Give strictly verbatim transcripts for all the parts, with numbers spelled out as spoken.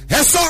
Hesa,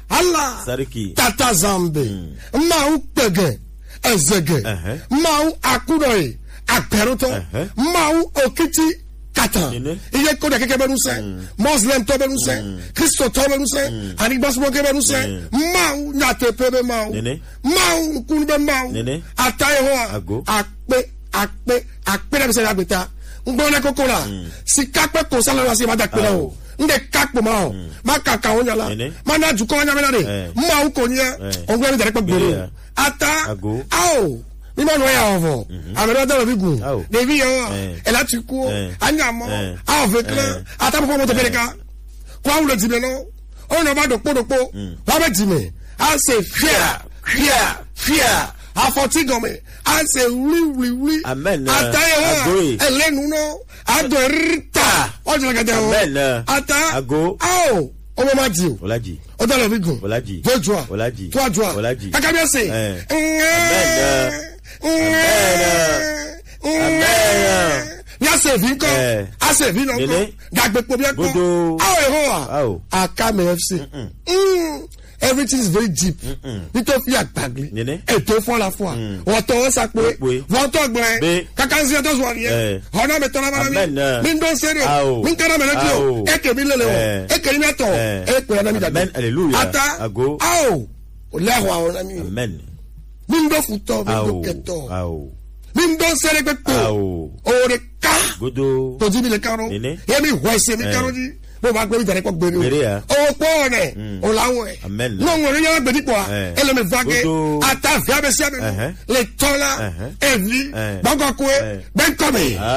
Allah, Sariki. Tata Zambe, Mm. Mawu kpege, ezege, Uh-huh. Mawu akuɖɔe, akpɛrutɔ, Uh-huh. Mawu okiti kata. Nene. Iye ko ɖe keke be nusẽ, Mm. Muslim tɔ be nusẽ, Mm. Kristo tɔ be nusẽ, Mm. anigbasubɔ ke be nusẽ, Mm. Mawu nyateƒe be Mawu, Nene. Mawu nukunu be Mawu, Nene. Ata Yehowa, Ago. Akpe, akpe, akpe ɖe be se ɖe agbeta. Ŋgblɔ ne koko la, Mm. sika kpe ko sa le asi ma da kpe na o. Ao. Ŋde ka kpo ma o. Mm. Ma kaka wo nya la. Nene. Ma na dukɔ nya me na de. Eh. Mawu ko nye. Eh. Ŋgblɔ mi da ɖe kpe gbe Nene. Ata. Ago. Ao. Mi ma nɔ ya o vɔ. Mhm. Ame ɖe da le vi gun. Ao. Ɖevi ya wa. Eh. Ela ti ku. Eh. Anya mɔ. Eh. Ao ve kle. Eh. Ata mo ko mo to pele ka. Kwa wo le di me no. O no ba dokpo dokpo. Mm. Wa be di me. A se fia, fia, fia. Afɔti gɔme. A se wli, wli, wli. Amen. Ata ye wa. Agoe. Ele nu no. Ado rita. O jina kete o. Amen. Ata. Ago. Ao. O mo ma di o. Olaji. O da le vi gun. Olaji. Jojua. Olaji. Tuajua. Olaji. Kaka bi ase. Eh. Amen. Amen. Amen. Ni ase vi nkɔ. Eh. Ase vi nɔ nkɔ. Nene. Dagbe kpo bia nkɔ. Godo. Ao Yehowa. Ao. Akame F C. Mm-mm. Mm. Everything is very deep. Mm-mm. Nítorí fi àgbàgbé. Nene. Ètò fún la fún wa. Mm. Wọ́n tọ́ ọ́ sá pé. Pé. Wọ́n tọ́ gbẹ. Be. Kaka ń ṣe ẹjọ́ sọ nìyẹn. Eh. Ọ̀nà mi tọ́lá bára mi. Amen. Mi ń dọ́ sẹ́rẹ̀. Ao. Mi ń kára mi lẹ́jọ́. Ao. Eke mi lele o. Eh. Eke mi atọ. Eh. Eke ya na mi dagbe. Amen. Hallelujah. Ata. Ago. Ao. O lẹ́hùn àwọn ọ̀nà mi. Amen. Mi ń dọ́ fún tọ́, mi ń dọ́ Ao. Kẹtọ́. Ao. Mi ń dọ́ sẹ́rẹ̀ pé pé. Ao. O de ka. Godo. Tòjú mi lè kárọ̀. Nene. Yẹ́mi wẹ̀ ṣe mi Eh. Kárọ̀ jí. Bó bá gbé mi tẹ̀lé kọ́ gbére o. Gbére ya. Owó pọ̀ nẹ̀. Mm. O la wọ̀ ẹ̀. Amen. N'o ŋun yẹn gbèdí pọ̀. Eh. Ele mi va ge. Godo. Ata fi abẹ si abẹ mi. Ẹhẹn. Le tọ́ la. Ẹhẹn. Evi. Eh. Gbọ́ngàn kó e. Eh. Bẹ́ẹ̀ kọ́ mi. Ah.